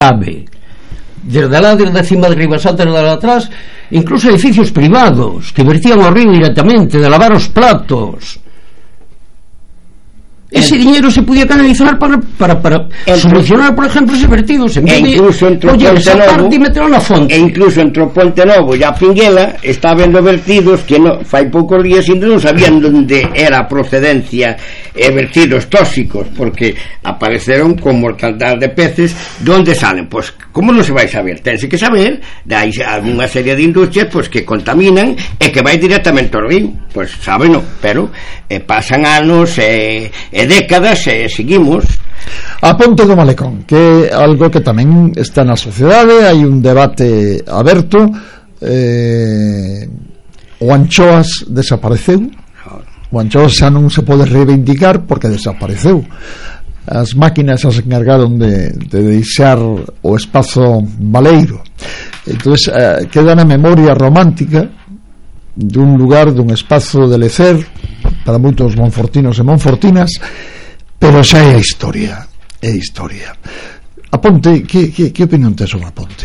desde lá, desde cima de Ribasanta, desde lá atrás, incluso edificios privados que vertían ao río directamente, de lavar os platos. Ese dinero se podía canalizar para solucionar, por ejemplo, ese vertidos, en vez de oye, esa parte y meterlo na fonte. E incluso entre o Ponte Novo e a Pinguela está vendo vertidos que fai poucos días ainda non sabían onde era a procedencia vertidos tóxicos, porque apareceron con mortandad de peces. De onde salen? Pois, como non se vai saber? Tense que saber, hai unha serie de industrias pois que contaminan e que vai directamente ao río. Pois sábeno, pero pasan anos e décadas e seguimos. A ponte do Malecón, que é algo que tamén está na sociedade, hai un debate aberto. O Anchoas desapareceu, o Anchoas xa non se pode reivindicar porque desapareceu. As máquinas se encargaron de deixar o espazo baleiro, entonces queda na memoria romántica dun lugar, dun espazo de lecer para moitos monfortinos e monfortinas, pero xa é a historia. A ponte, que opinión tes sobre a ponte?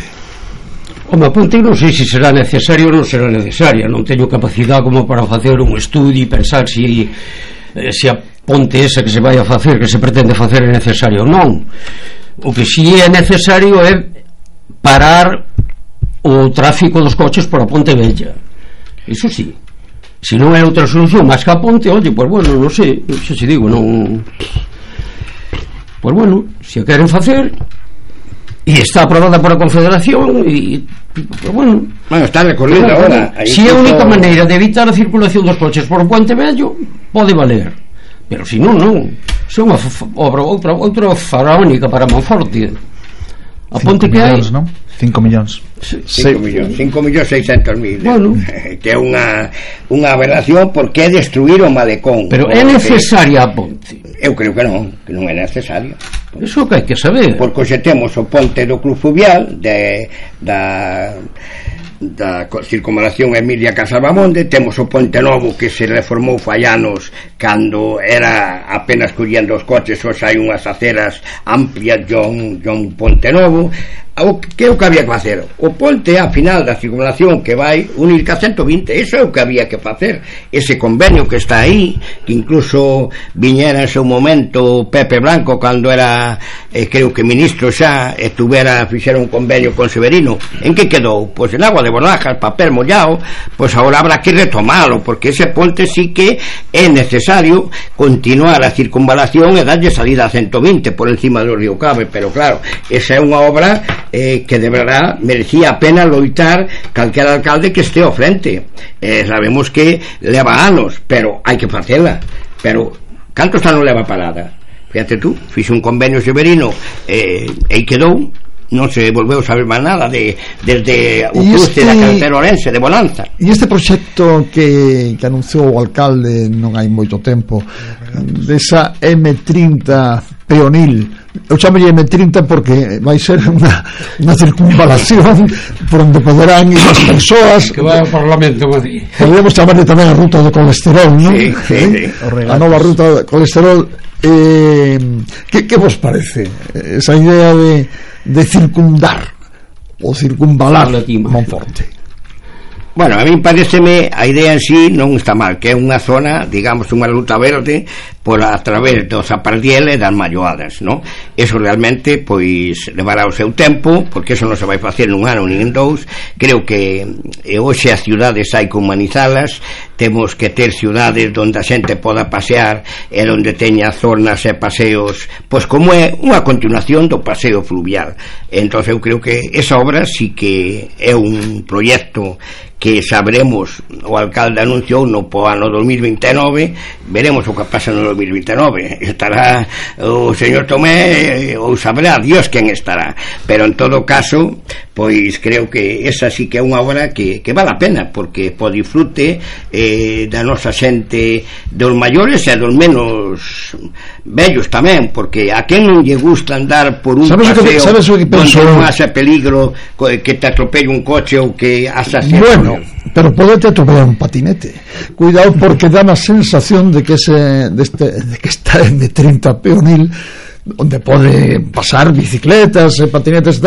A ponte non sei se será necesario ou non será necesaria, non teño capacidade como para facer un estudio e pensar se a ponte esa que se vai a facer, que se pretende facer, é necesario ou non. O que si é necesario é parar o tráfico dos coches por a Ponte Vella, iso sí. Se non é outra solución máis que a ponte, oye, pues bueno, non sei, xa se digo, non. Pues bueno, se a queren facer e está aprobada por a Confederación e pues bueno, está recorrida agora. Se é a única maneira de evitar a circulación dos coches por o Puente Vello, pode valer. Pero se non, se é unha obra outra faraónica para Monforte. A ponte que hai, non? 5 millóns. 5.600.000. Bueno, que é unha aberración, porque é destruir o malecón. Pero é necesaria a ponte? Eu creo que non é necesaria. Iso que hai que saber. Porque xe temos o ponte do Club Fluvial da circunvalación Emilia Casalbamonde, temos o Ponte Novo que se reformou fai anos cando era apenas collendo os coches, hoxe hai unhas aceras amplias, John Ponte Novo. Que é o que había que facer? O ponte a final da circunvalación que vai unir ca 120, eso é o que había que facer. Ese convenio que está aí, que incluso viñera en seu momento Pepe Blanco cando era creo que ministro xa, fixera un convenio con Severino. En que quedou? Pois en agua de borrajas, papel mollado. Pois agora habrá que retomalo, porque ese ponte sí que é necesario continuar a circunvalación e darlle salida a 120 por encima do río Cave. Pero claro, esa é unha obra que de verdad merecía a pena loitar calquera alcalde que este ao frente. Sabemos que leva anos, pero hai que facela. Pero cantos anos leva parada? Fíjate tú, fixe un convenio Severino e quedou, non se volveu saber máis nada desde o cruce da carretera Orense de Bonanza. E este proxecto que anunciou o alcalde non hai moito tempo, desa M30 peonil, eu chamolle M30 porque vai ser unha circunvalación por onde poderán ir as persoas que vai ao Parlamento de Madrid. Podemos chamarle tamén a ruta do colesterol, non? Sí. A nova ruta do colesterol. Que vos parece esa idea de circundar ou circunvalar Monforte? Bueno, a mí pareceme a idea en sí non está mal, que é unha zona, digamos, unha ruta verde por a través dos Zapardiel e das Malloadas, non? Eso realmente, pois, levará o seu tempo, porque eso non se vai facer nun ano nin en dous. Creo que hoxe as ciudades hai que humanizalas, temos que ter ciudades onde a xente poda pasear e onde teña zonas e paseos, pois como é unha continuación do paseo fluvial. Entón eu creo que esa obra sí que é un proxecto que sabremos, o alcalde anunciou no ano 2029, veremos o que pasa no 2029, estará o señor Tomé ou sabrá Dios quen estará, pero en todo caso pois creo que esa sí que é unha obra que vale a pena, porque po disfrute da nosa xente, dos maiores e dos menos vellos tamén, porque a quen non lle gusta andar por un paseo onde non haxe peligro que te atropelle un coche ou que asasine. Bueno, pero podete atropellar un patinete. Cuidado, porque dá a sensación de que esta M30 peonil onde pode pasar bicicletas e patinetes e tal,